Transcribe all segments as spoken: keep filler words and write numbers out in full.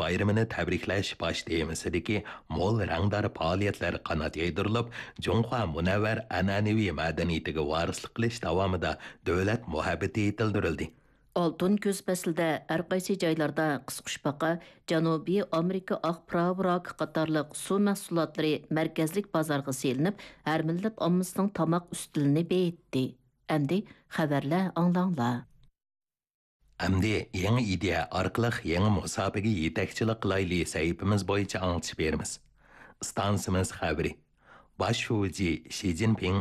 بايرىمىنى تەبرىكلەش باش تېمىسىدىكى مول رەڭدار پائالىيەتلەر قانات يايدۇرۇلۇپ، جۇڭخۇا مۇنەۋۋەر ئەنئەنىۋى مەدەنىيىتىگە ۋارىسلىق قىلىش داۋامىدا دۆلەت مۇھەببىتى يېتىلدۈرۈلدى. ئالتۇن كۈز پەسلىدە ھەر قايسى جايلاردا قىسقۇچپاقا، جەنۇبىي ئامېرىكا ئاق پىراۋىراكى قاتارلىق سۇ مەھسۇلاتلىرى مەركەزلىك بازارغا سېلىنىپ، ھەر مىللەت ئاممىسىنىڭ تاماق ئۈستىلىنى بېيىتتى. ئەمدى خەۋەرلەر ئاڭلاڭلار. ئەمدى يېڭى ئىدىيە ئارقىلىق يېڭى مۇساپىگە يېتەكچىلىك قىلايلى سەھىپىمىز بويىچە ئاڭلىتىش بېرىمىز. ئىستانسىمىز خەۋىرى. باش شۇجى شى جىنپىڭ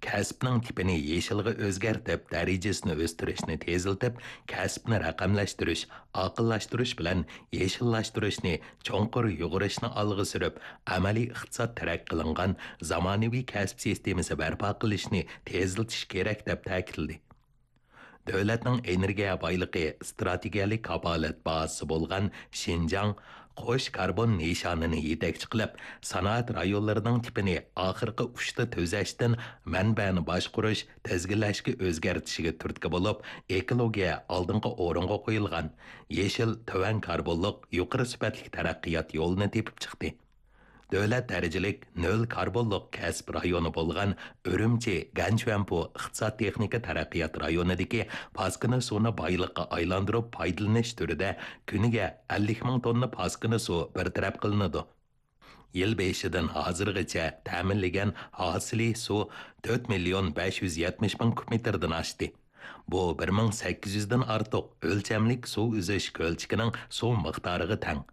كەسىپنىڭ تىپىنى يېشىلغا ئۆزگەرتىپ، دەرىجىسىنى ئۆستۈرۈشنى تېزلىتىپ، كەسىپنى رەقەملەشتۈرۈش، ئاقىللاشتۇرۇش بىلەن يېشىللاشتۇرۇشنى چوڭقۇر يۇغۇرۇشنى ئالغا سۈرۈپ، ئەمەلىي ئىقتىساد تەرەققىي قىلىنغان زامانىۋى كەسىپ سىستېمىسى بەرپا قىلىشنى تېزلىتىش كېرەك، دەپ تەكىتلىدى. دۆلەتنىڭ ئېنېرگىيە بايلىقى ئىستراتېگىيەلىك كاپالەت بازىسى بولغان شىنجاڭ قوش كاربون نىشانىنى يېتەكچى قىلىپ، سانائەت رايونلىرىنىڭ تىپىنى ئاخىرقى ئۇچتا تۈزەشتىن مەنبەنى باشقۇرۇش، تىزگىنلەشكە ئۆزگەرتىشىگە تۈرتكە بولۇپ، ئېكولوگىيە ئالدىنقى ئورۇنغا قويۇلغان يېشىل، تۆۋەن كاربونلۇق، يۇقىرى سۈپەتلىك تەرەققىيات يولىنى تېپىپ چىقتى. دۆلەت دەرىجىلىك نۆل كاربونلۇق كەسىپ رايونى بولغان ئۈرۈمچى گەنچۈەنپۇ ئىقتىساد تېخنىكا تەرەققىيات رايونىدىكى پاسكىنا سۇنى بايلىققا ئايلاندۇرۇپ پايدىلىنىش تۈرىدە كۈنىگە ئەللىك مىڭ توننا پاسكىنا سۇ بىر تەرەپ قىلىنىدۇ. يىل بېشىدىن ھازىرغىچە تەمىنلىگەن ھاسىلى سۇ تۆت مىليون بەش يۈز يەتمىش مىڭ كۇب مېتىردىن ئاشتى. بۇ بىر مىڭ سەككىز يۈزدىن ئارتۇق ئۆلچەملىك سۇ ئۈزۈش كۆلچىكىنىڭ سۇ مىقدارىغا تەڭ.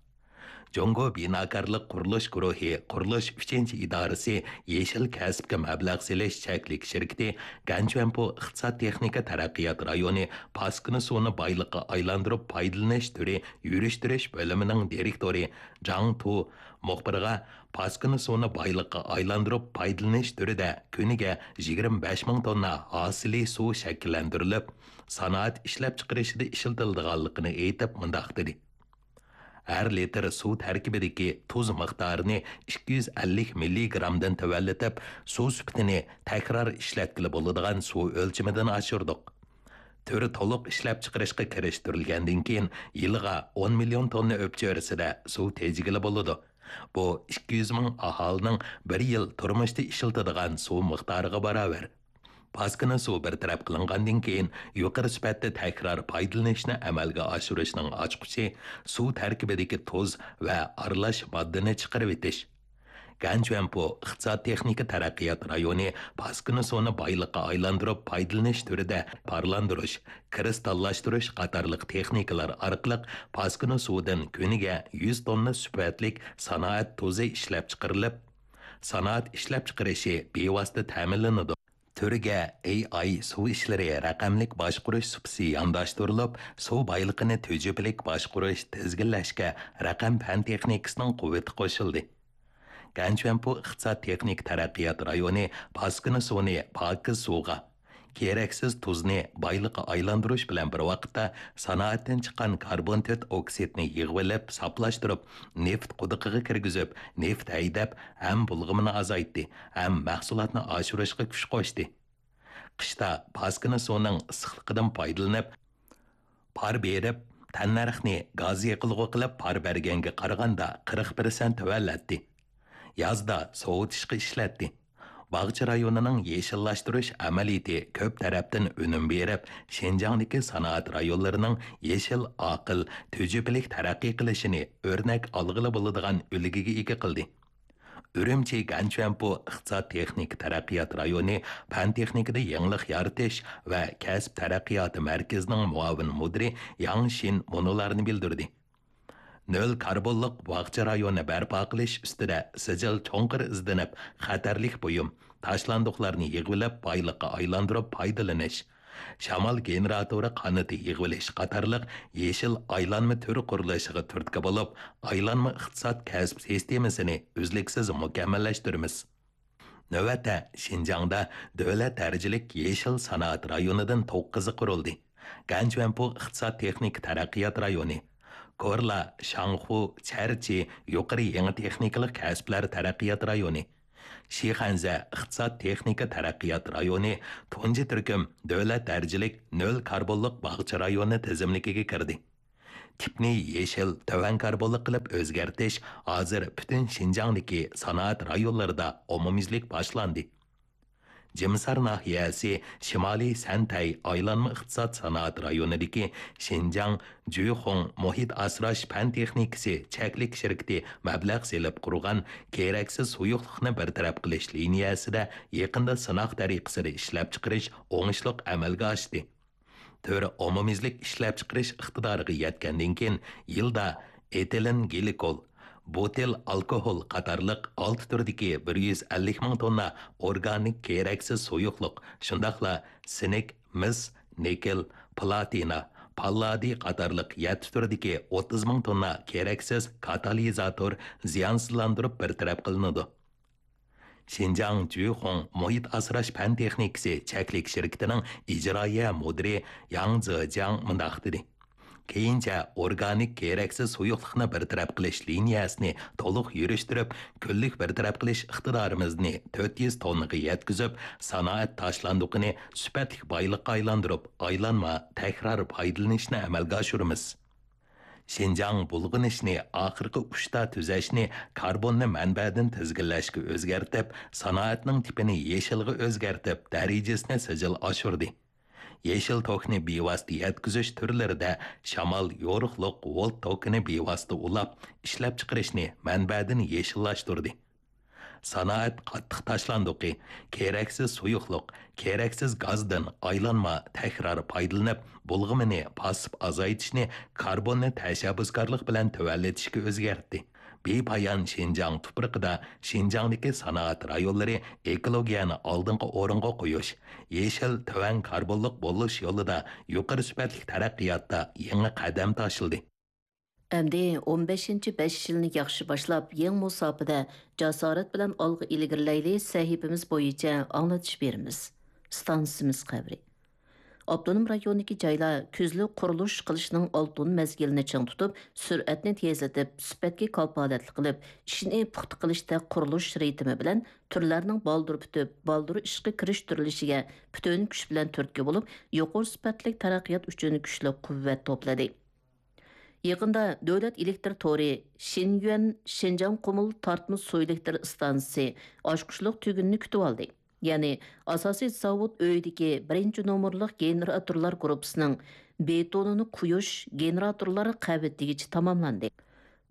جۇڭگو بىناكارلىق قۇرۇلۇش گۇرۇھى قۇرۇلۇش ئۈچىنچى ئىدارىسى يېشىل كەسىپكە مەبلەغ سېلىش چەكلىك شىركىتى گەنچۈەنپۇ ئىقتىساد تېخنىكا تەرەققىيات رايونى پاسكىنا سۇنى بايلىققا ئايلاندۇرۇپ پايدىلىنىش تۈرى يۈرۈشتۈرۈش بۆلۈمىنىڭ دىرېكتورى جاڭ تۇ مۇخبىرغا پاسكىنا سۇنى بايلىققا ئايلاندۇرۇپ پايدىلىنىش تۈرىدە كۈنىگە يىگىرمە بەش مىڭ توننا ھاسىلى سۇ شەكىللەندۈرۈلۈپ، سانائەت ئىشلەپچىقىرىشىدا ئىشلىتىلىدىغانلىقىنى ئېيتىپ مۇنداق دېدى: ھەر لىتىر سۇ تەركىبىدىكى تۇز مىقدارىنى ئىككى يۈز ئەللىك مىللىگرامدىن تۆۋەنلىتىپ، سۇ سۈپىتىنى تەكرار ئىشلەتكىلى بولىدىغان سۇ ئۆلچىمىدىن ئاشۇردۇق. تۈر تولۇق ئىشلەپچىقىرىشقا كىرىشتۈرۈلگەندىن كېيىن، يىلىغا ئون مىليون توننا ئۆپچۆرىسىدە سۇ تېجىگىلى بولىدۇ. بۇ ئىككى يۈز مىڭ ئاھالىنىڭ بىر يىل تۇرمۇشتا ئىشلىتىدىغان سۇ مىقدارىغا باراۋەر. پاسكىنا سۇ بىر تەرەپ قىلىنغاندىن كېيىن، يۇقىرى سۈپەتتە تەكرار پايدىلىنىشنى ئەمەلگە ئاشۇرۇشنىڭ ئاچقۇچى سۇ تەركىبىدىكى تۇز ۋە ئارىلاش ماددىنى چىقىرىۋېتىش. گەنچۈەنپۇ ئىقتىساد تېخنىكا تەرەققىيات رايونى پاسكىنا سۇنى بايلىققا ئايلاندۇرۇپ پايدىلىنىش تۈرىدە پارلاندۇرۇش، كىرىستاللاشتۇرۇش قاتارلىق تېخنىكىلار ئارقىلىق پاسكىنا سۇدىن كۈنىگە يۈز توننا سۈپەتلىك سانائەت تۇزى ئىشلەپچىقىرىلىپ، سانائەت ئىشلەپچىقىرىشى بىۋاسىتە تەمىنلىنىدۇ. تۈرگە ئېي ئاي سۇ ئىشلىرى رەقەملىك باشقۇرۇش سۇپىسى يانداشتۇرۇلۇپ، سۇ بايلىقىنى تۈجۈپىلىك باشقۇرۇش، تىزگىنلەشكە رەقەم پەن تېخنىكىسىنىڭ قۇۋۋىتى قوشۇلدى. گەنچۈەنپۇ ئىقتىساد تېخنىكا تەرەققىيات رايونى پاسكىنا سۇنى پاكىز سۇغا، كېرەكسىز تۇزنى بايلىققا ئايلاندۇرۇش بىلەن بىر ۋاقىتتا، سانائەتتىن چىققان كاربون تۆت ئوكسىدنى يىغىۋېلىپ، ساپلاشتۇرۇپ، نېفىت قۇدۇقىغا كىرگۈزۈپ، نېفىت ھەيدەپ، ھەم بۇلغىمىنى ئازايتتى، ھەم مەھسۇلاتنى ئاشۇرۇشقا كۈچ قوشتى. قىشتا پاسكىنا سۇنىڭ ئىسسىقلىقىدىن پايدىلىنىپ، پار بېرىپ، تەننەرخنى گاز يېقىلغۇ قىلىپ پار بەرگەنگە قارىغاندا قىرىق پىرسەنت تۆۋەنلەتتى. يازدا سوۋۇتۇشقا ئىشلەتتى. باغچە رايونىنىڭ يېشىللاشتۇرۇش ئەمەلىيىتى كۆپ تەرەپتىن ئۈنۈم بېرىپ، شىنجاڭدىكى سانائەت رايونلىرىنىڭ يېشىل، ئاقىل، تۈجۈپىلىك تەرەققىي قىلىشىنى ئۆرنەك ئالغىلى بولىدىغان ئۈلگىگە ئىگە قىلدى. ئۈرۈمچى گەنچۈەنپۇ ئىقتىساد تېخنىكا تەرەققىيات رايونى پەن تېخنىكىدا يېڭىلىق يارىتىش ۋە كەسىپ تەرەققىياتى مەركىزىنىڭ مۇئاۋىن مۇدىرى ياڭ شىن مۇنۇلارنى بىلدۈردى: نۆل كاربونلۇق باغچە رايونى بەرپا قىلىش ئۈستىدە سىجىل چوڭقۇر ئىزدىنىپ، خەتەرلىك بۇيۇم، تاشلاندۇقلارنى يىغىۋېلىپ، بايلىققا ئايلاندۇرۇپ پايدىلىنىش، شامال گېنېراتورى قانىتى يىغىۋېلىش قاتارلىق يېشىل ئايلانما تۈر قۇرۇلۇشىغا تۈرتكە بولۇپ، ئايلانما ئىقتىساد كەسىپ سىستېمىسىنى ئۈزلۈكسىز مۇكەممەللەشتۈرىمىز. نۆۋەتتە، شىنجاڭدا دۆلەت دەرىجىلىك يېشىل سانائەت رايونىدىن توققۇزى قۇرۇلدى. گەنچۈەنپۇ ئىقتىساد تېخنىكا تەرەققىيات رايونى، كورلا، شاڭخۇ، چەرچى يۇقىرى يېڭى تېخنىكىلىق كەسىپلەر تەرەققىيات رايونى، شىخەنزە ئىقتىساد تېخنىكا تەرەققىيات رايونى تۇنجى تۈركۈم دۆلەت دەرىجىلىك نۆل كاربونلۇق باغچە رايونى تىزىملىكىگە كىردى. تىپنى يېشىل، تۆۋەن كاربونلۇق قىلىپ ئۆزگەرتىش ھازىر پۈتۈن شىنجاڭدىكى سانائەت رايونلىرىدا ئومۇميۈزلۈك باشلاندى. جىمسار ناھىيەسى شىمالىي سەنتەي ئايلانما ئىقتىساد سانائەت رايونىدىكى شىنجاڭ جۈخۇڭ مۇھىت ئاسراش پەن تېخنىكىسى چەكلىك شىركىتى مەبلەغ سېلىپ قۇرغان كېرەكسىز سۇيۇقلۇقنى بىر تەرەپ قىلىش لىنىيەسىدە يېقىندا سىناق تەرىقىسىدە ئىشلەپچىقىرىش ئوڭۇشلۇق ئەمەلگە ئاشتى. تۈر ئومۇميۈزلۈك ئىشلەپچىقىرىش ئىقتىدارىغا يەتكەندىن كېيىن، يىلدا ئېتىلېن گلىكول، بۇتىل ئالكوھول قاتارلىق ئالتە تۈردىكى بىر يۈز ئەللىك مىڭ توننا ئورگانىك كېرەكسىز سۇيۇقلۇق، شۇنداقلا سىنك، مىس، نىكېل، پلاتىنا، پاللادىي قاتارلىق يەتتە تۈردىكى ئوتتۇز مىڭ توننا كېرەكسىز كاتالىزاتور زىيانسىزلاندۇرۇپ بىر تەرەپ قىلىنىدۇ. شىنجاڭ جۈخۇڭ مۇھىت ئاسراش پەن تېخنىكىسى چەكلىك شىركىتىنىڭ ئىجرائىيە مۇدىرى ياڭ زېجياڭ مۇنداق دېدى: كېيىنچە ئورگانىك كېرەكسىز سۇيۇقلۇقنى بىر تەرەپ قىلىش لىنىيەسىنى تولۇق يۈرۈشتۈرۈپ، كۈنلۈك بىر تەرەپ قىلىش ئىقتىدارىمىزنى تۆت يۈز توننىغا يەتكۈزۈپ، سانائەت تاشلاندۇقىنى سۈپەتلىك بايلىققا ئايلاندۇرۇپ، ئايلانما، تەكرار پايدىلىنىشنى ئەمەلگە ئاشۇرىمىز. شىنجاڭ بۇلغىنىشنى ئاخىرقى ئۇچتا تۈزەشنى، كاربوننى مەنبەدىن تىزگىنلەشكە ئۆزگەرتىپ، سانائەتنىڭ تىپىنى يېشىلغا ئۆزگەرتىپ، دەرىجىسىنى سىجىل ئاشۇردى. يېشىل توكنى بىۋاسىتە يەتكۈزۈش تۈرلىرىدە شامال، يورۇقلۇق، ۋولت توكىنى بىۋاسىتە ئۇلاپ، ئىشلەپچىقىرىشنى مەنبەدىن يېشىللاشتۇردى. سانائەت قاتتىق تاشلاندۇقى، كېرەكسىز سۇيۇقلۇق، كېرەكسىز گازدىن ئايلانما، تەكرار پايدىلىنىپ، بۇلغىمىنى پاسسىپ ئازايتىشنى، كاربوننى تەشەببۇسكارلىق بىلەن تۆۋەنلىتىشكە ئۆزگەرتتى. بىپايان شىنجاڭ تۇپرىقىدا شىنجاڭدىكى سانائەت رايونلىرى ئېكولوگىيەنى ئالدىنقى ئورۇنغا قويۇش، يېشىل، تۆۋەن كاربونلۇق بولۇش يولىدا يۇقىرى سۈپەتلىك تەرەققىياتتا يېڭى قەدەم تاشلىدى. ئەمدى ئون بەشىنچى بەش يىلنى ياخشى باشلاپ، يېڭى مۇساپىدە جاسارەت بىلەن ئالغا ئىلگىرىلەيلى سەھىپىمىز بويىچە ئاڭلىتىش بېرىمىز. ئىستانسىمىز قەبرە. ئاپتونوم رايوندىكى جايلار كۈزلۈك قۇرۇلۇش قىلىشنىڭ ئالتۇن مەزگىلىنى چىڭ تۇتۇپ، سۈرئەتنى تېزلىتىپ، سۈپەتكە كاپالەتلىك قىلىپ، ئىشنى پۇختا قىلىشتا قۇرۇلۇش رىتىمى بىلەن تۈرلەرنىڭ بالدۇر پۈتۈپ، بالدۇر ئىشقا كىرىشتۈرۈلۈشىگە پۈتۈن كۈچ بىلەن تۈرتكە بولۇپ، يۇقىرى سۈپەتلىك تەرەققىيات ئۈچۈن كۈچلۈك قۇۋۋەت توپلىدى. يېقىندا دۆلەت ئېلېكتر تورى شىنيۈەن شىنجاڭ قۇمۇل تارتما سۇ ئېلېكتر ئىستانسىسى ئاچقۇچلۇق تۈگۈننى كۈتۈۋالدى. يەنى ئاساسىي زاۋۇت ئۆيىدىكى بىرىنچى نومۇرلۇق گېنېراتورلار گۇرۇپپىسىنىڭ بېتونىنى قۇيۇش گېنېراتورلار قەۋىتىگىچە تاماملاندى.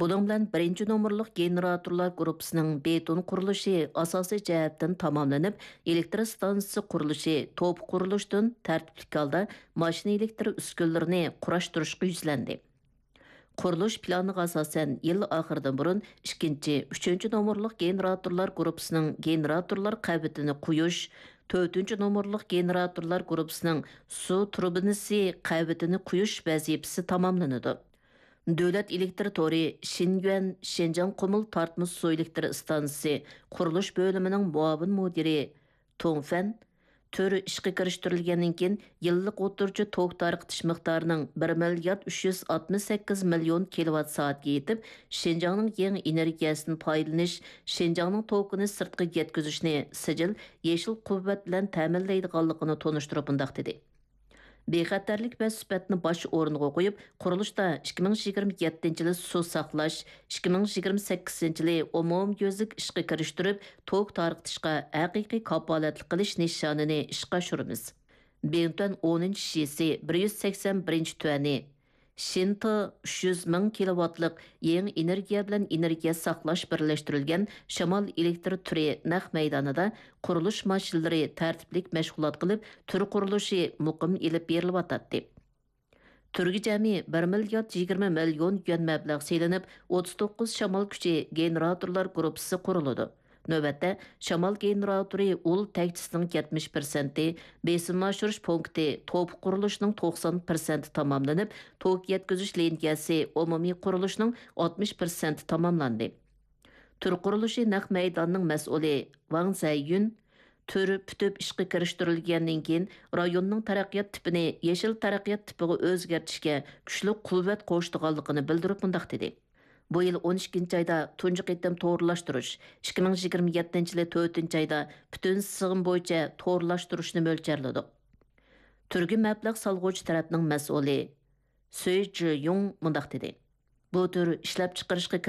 بۇنىڭ بىلەن بىرىنچى نومۇرلۇق گېنېراتورلار گۇرۇپپىسىنىڭ بېتون قۇرۇلۇشى ئاساسىي جەھەتتىن تاماملىنىپ، ئېلېكتر ئىستانسىسى قۇرۇلۇشى توپا قۇرۇلۇشتىن تەرتىپلىك ھالدا ماشىنا ئېلېكتر ئۈسكۈنىلىرىنى قۇراشتۇرۇشقا يۈزلەندى. قۇرۇلۇش پىلانىغا ئاساسەن، يىل ئاخىرىدىن بۇرۇن ئىككىنچى، ئۈچىنچى نومۇرلۇق گېنېراتورلار گۇرۇپپىسىنىڭ گېنېراتورلار قەۋىتىنى قۇيۇش، تۆتىنچى نومۇرلۇق گېنېراتورلار گۇرۇپپىسىنىڭ سۇ تۇربىنىسى قەۋىتىنى قۇيۇش ۋەزىپىسى تاماملىنىدۇ. دۆلەت ئېلېكتر تورى شىنيۈەن شىنجاڭ قۇمۇل تارتما سۇ ئېلېكتر ئىستانسىسى قۇرۇلۇش بۆلۈمىنىڭ مۇئاۋىن مۇدىرى تۇڭ فەن، تۈر ئىشقا كىرىشتۈرۈلگەندىن كېيىن، يىللىق ئوتتۇرىچە توك تارقىتىش مىقدارىنىڭ بىر مىليارد ئۈچ يۈز ئاتمىش سەككىز مىليون كىلوۋات سائەتكە يېتىپ، شىنجاڭنىڭ يېڭى ئېنېرگىيەسىدىن پايدىلىنىش، شىنجاڭنىڭ توكىنى سىرتقا يەتكۈزۈشنى سىجىل، يېشىل قۇۋۋەت بىلەن تەمىنلەيدىغانلىقىنى تونۇشتۇرۇپ مۇنداق دېدى: بىخەتەرلىك ۋە سۈپەتنى باش ئورۇنغا قويۇپ، قۇرۇلۇشتا ئىككى مىڭ يىگىرمە يەتتىنچى يىلى سۇ ساقلاش، ئىككى مىڭ يىگىرمە سەككىزىنچى يىلى ئومۇميۈزلۈك ئىشقا كىرىشتۈرۈپ، توك تارقىتىشقا ھەقىقىي كاپالەتلىك قىلىش نىشانىنى ئىشقا ئاشۇرىمىز. بىڭتۈەن ئونىنچى شىسى بىر يۈز سەكسەن بىرىنچى تۈەنى، شىنتې ئۈچ يۈز مىڭ كىلوۋاتلىق يېڭى ئېنېرگىيە بىلەن ئېنېرگىيە ساقلاش بىرلەشتۈرۈلگەن شامال ئېلېكتر تۈرى نەق مەيدانىدا قۇرۇلۇش ماشىنىلىرى تەرتىپلىك مەشغۇلات قىلىپ، تۈر قۇرۇلۇشى مۇقىم ئېلىپ بېرىلىۋاتاتتى. تۈرگە جەمئىي بىر مىليارد يىگىرمە مىليون يۈەن مەبلەغ سېلىنىپ، ئوتتۇز توققۇز شامال كۈچى گېنېراتورلار گۇرۇپپىسى قۇرۇلىدۇ. نۆۋەتتە، شامال گېنېراتورى ئۇل تەكچىسىنىڭ يەتمىش پىرسەنتى، بېسىمنى ئاشۇرۇش پونكىتى توپا قۇرۇلۇشىنىڭ توقسان پىرسەنتى تاماملىنىپ، توك يەتكۈزۈش لىنىيەسى ئومۇمىي قۇرۇلۇشىنىڭ ئاتمىش پىرسەنتى تاماملاندى. تۈر قۇرۇلۇشى نەق مەيدانىنىڭ مەسئۇلى ۋاڭ زەييۈن، تۈر پۈتۈپ ئىشقا كىرىشتۈرۈلگەندىن كېيىن، رايوننىڭ تەرەققىيات تىپىنى يېشىل تەرەققىيات تىپىغا ئۆزگەرتىشكە كۈچلۈك قۇۋۋەت قوشىدىغانلىقىنى بىلدۈرۈپ مۇنداق دېدى: بۇ يىل ئون ئىككىنچى ئايدا تۇنجى قېتىم تورلاشتۇرۇش، ئىككى مىڭ يىگىرمە يەتتىنچى يىلى تۆتىنچى ئايدا پۈتۈن سىغىم بويىچە تورلاشتۇرۇشنى مۆلچەرلىدۇق. تۈرگە مەبلەغ سالغۇچى تەرەپنىڭ مەسئۇلى سۈي جىيۇڭ مۇنداق دېدى: بۇ تۈر ئىشلەپچىقىرىشقا